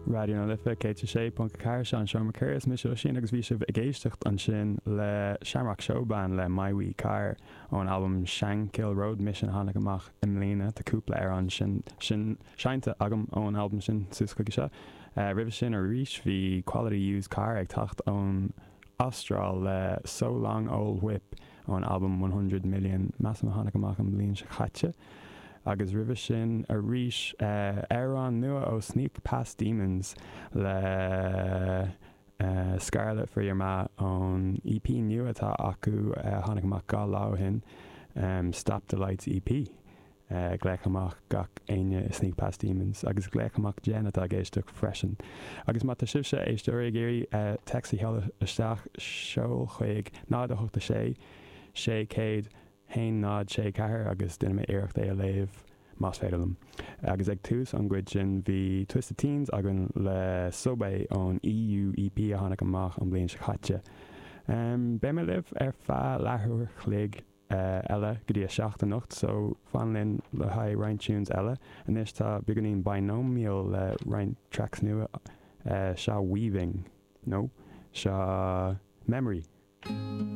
Raidió na Life 106.4, seo an Seomra Ceoil, is mise Oisín agus bhí sibh ag éisteacht ansin le Shamrock Showband le My Wee Car ón albam Shankill Road Mission a tháinig amach i mbliana. Tá cúpla amhrán sin sin seinnte agam ón albam sin suas chuige seo. Roimhe sin arís bhí Quality Used Car ag teacht ón Astráil le So Long Ol' Whip ón albam 100 Million, measaim a tháinig amach an bhliain seo caite. Agus roimhe sin arís, amhrán nua ó Sneak Past Demons le Scarlet for Your Ma ón EP nua atá acu a tháinig amach 2 lá ó shin, Stop the Lights EP. Glaoch amach gach éinne i Sneak Past Demons agus glaoch amach Jen atá ag éisteacht freisin. Agus má tá sibhse, éisteoirí, ag iarraidh téacs a sheoladh isteach, seol chuig 0 8 6 600 1 0 6 4 agus déanfaidh mé iarracht é a léamh más féidir liom. Agus ag tús an gcuid sin bhí Twisted Teens againn le Subway ón EU EP a tháinig amach an bhliain seo caite. Beidh mé libh ar feadh leathuair chloig eile go dtí a 7 anocht so fan linn le haghaidh roinnt tunes eile. Anois tá beagáinín Binomial le roinnt tracks nua, seo Weaving, no, seo Memory.